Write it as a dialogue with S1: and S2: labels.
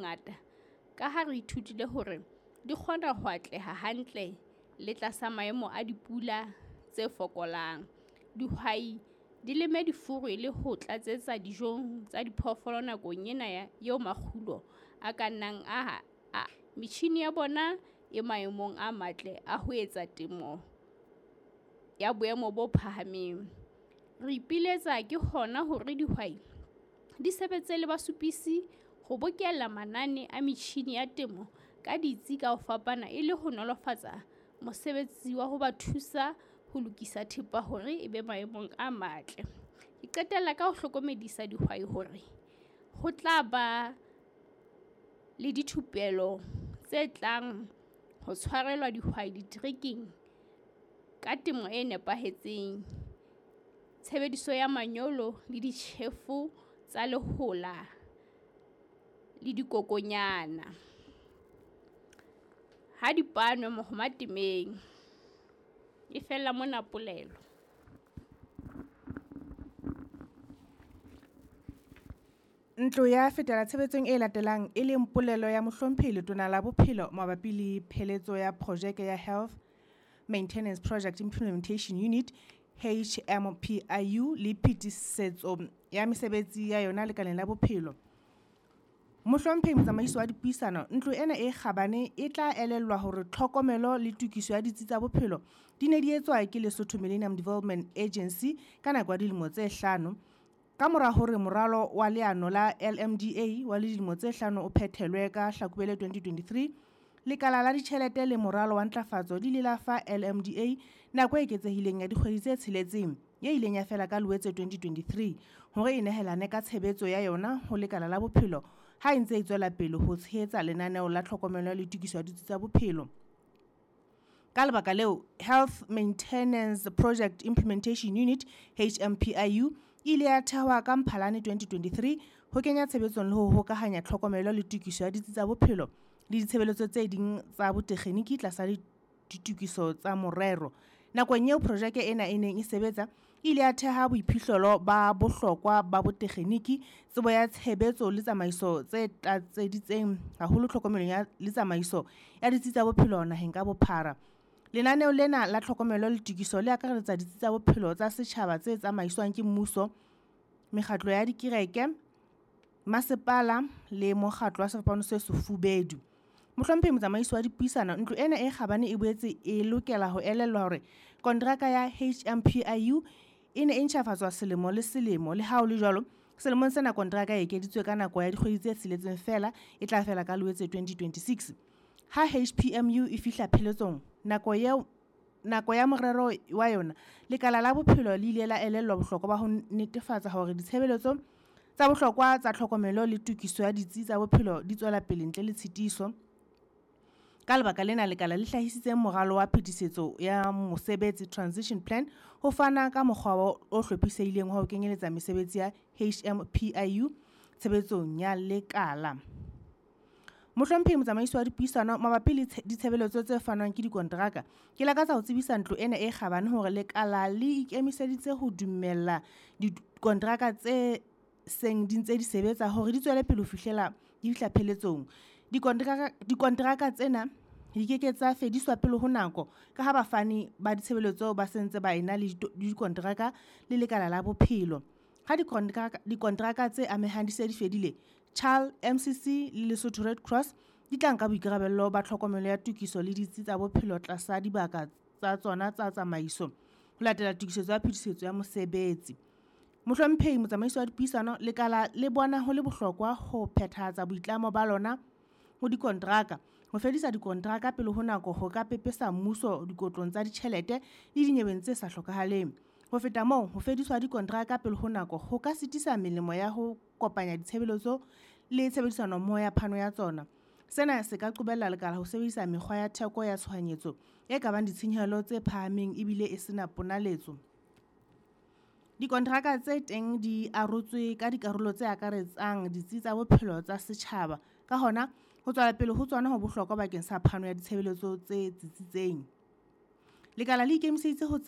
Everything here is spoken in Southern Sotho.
S1: bongata ka ha re ithutile hore di kgona ho atleha hantle le tlasa maemo a dipula tse fokolang. Dihwai di leme difuru e le ho tlatsetsa dijong tsa diphoofolo nakong ena eo makgulo a ka nnang a. Metjhine ya bona e maemong a matle a ho etsa temo ya boemo bo phahameng. Re ipiletsa ke hona hore dihwai di sebetse le basupisi ho bokella manane a metjhine ya temo ka ditsi ka ho fapana e le ho nolofatsa mosebetsi wa ho ba thusa ho lokisa thepa hore e be maemong a matle. Ke qetella ka ho hlokomedisa dihwai hore ho tla ba le dithupelo tse tlang ho tshwarelwa dihwai diterekeng ka temo e nepahetseng, tshebediso ya manyolo le ditjhefo tsa lehola le dikokwanyana. Ha di panwe mohoma temeng. E fella mona polelo.
S2: Ntlo ya fetela tshebetsong e latelang, e leng polelo ya Mohlomphehi Letona la Bophelo mabapi le pheletso ya projeke ya Health Maintenance Project Implementation Unit, HMPIU, le phetisetso ya mesebetsi ya yona lekaleng la bophelo. Mohlomphehi Motsamaisi wa Dipuisano, ntlo ena e kgabane e tla elellwa hore tlhokomelo le tokiso ya ditsi tsa bophelo di ne di etswa ke Lesotho Millennium Development Agency ka nako ya dilemo tse hlano. Ka mora hore moralo wa leano la LMDA wa dilemo tse hlano o phethelwe ka Hlakubele 2023, Lekala la Ditjhelete le Moralo wa Ntlafatso di ile la fa LMDA nako e eketsehileng ya dikgwedi tse tsheletseng, e ileng ya fela ka Loetse 2023, hore e nehelane ka tshebetso ya yona ho lekala la bophelo ha e ntse e tswela pele ho tshehetsa lenaneo la tlhokomelo le tokiso ya ditsi tsa bophelo. Ka lebaka leo, Health Maintenance Project Implementation Unit, HMPIU, e ile ya thehwa ka Mphalane 2023 ho kenya tshebetsong le ho hokahanya tlhokomelo le tokiso ya ditsi tsa bophelo le ditshebeletso tse ding tsa botekgeniki tlasa ditokiso tsa morero. Nakong eo projeke ena e neng e sebetsa, e ile ya theha boiphihlelo ba bohlokwa ba botekgeniki, tsebo ya tshebetso le tsamaiso tse tlatseditseng haholo tlhokomelong ya le tsamaiso ya ditsi tsa bophelo naheng ka bophara. Lenaneo lena la tlhokomelo le tokiso le akaretsa ditsi tsa bophelo tsa setjhaba tse tsamaiswang ke mmuso, mekgatlo ya dikereke, masepala le mokgatlo wa Sefapano se Sefubedu. Mohlomphehi Motsamaisi wa Dipuisano, ntlo ena e kgabane e boetse e lokela ho elellwa hore kontraka ya HMPIU e ne e ntjhafatswa selemo le selemo. Le ha ho le jwalo, selemong sena kontraka e ekeditswe ka nako ya dikgwedi tse tsheletseng feela, e tla fela ka Loetse 2026. Ha HPMU e fihla pheletsong nako ya morero wa yona, lekala la bophelo le ile la elellwa bohlokwa ba ho netefatsa hore ditshebeletso tsa bohlokwa tsa tlhokomelo le tokiso ya ditsi tsa bophelo di tswela pele ntle le tshitiso. Ka lebaka lena, lekala le hlahisitse moralo wa phetisetso ya mosebetsi, transition plan, ho fana ka mokgwa o hlophisehileng wa ho kenyeletsa mesebetsi ya HMPIU tshebetsong ya lekala. Mohlomphehi Motsamaisi wa Dipuisano, mabapi le ditshebeletso tse fanwang ke dikonteraka, ke lakatsa ho tsebisa ntlo ena e kgabane hore lekala le ikemiseditse ho dumella dikonteraka tse seng di ntse di sebetsa hore di tswele pele ho fihlela di fihla pheletsong. Dikonteraka tsena di ke ke tsa fediswa pele ho nako ka ha bafani ba ditshebeletso ba se ntse ba ena le dikonteraka le lekala la bophelo. Ha dikonteraka tse amehang di se di fedile, CHAL, MCC le Lesotho Red Cross di tla nka boikarabello ba tlhokomelo ya tokiso le ditsi tsa bophelo tlasa dibaka tsa tsona tsa tsamaiso ho latela tokisetso ya phetisetso ya mosebetsi. Mohlomphehi Motsamaisi wa Dipuisano, lekala le bona ho le bohlokwa ho phethahatsa boitlamo ba lona ho dikonteraka. Ho fedisa dikonteraka pele ho nako ho ka pepesa mmuso dikotlong tsa ditjhelete le dinyeweng tse sa hlokahaleng. Ho feta moo, ho fediswa dikonteraka pele ho nako ho ka sitisa melemo ya ho kopanya ditshebeletso le tshebedisanommoho ya phano ya tsona. Sena se ka qobella lekala ho sebedisa mekgwa ya theko ya tshohanyetso e ka bang ditshenyehelo tse phahameng ebile e sena ponaletso. Dikonteraka tse teng di arotswe ka dikarolo tse akaretsang ditsi tsa bophelo tsa setjhaba. Ka hona, ho tswela pele ho tsona ho bohlokwa bakeng sa phano ya ditshebeletso tse tsitsitseng. Lekala le ikemiseditse ho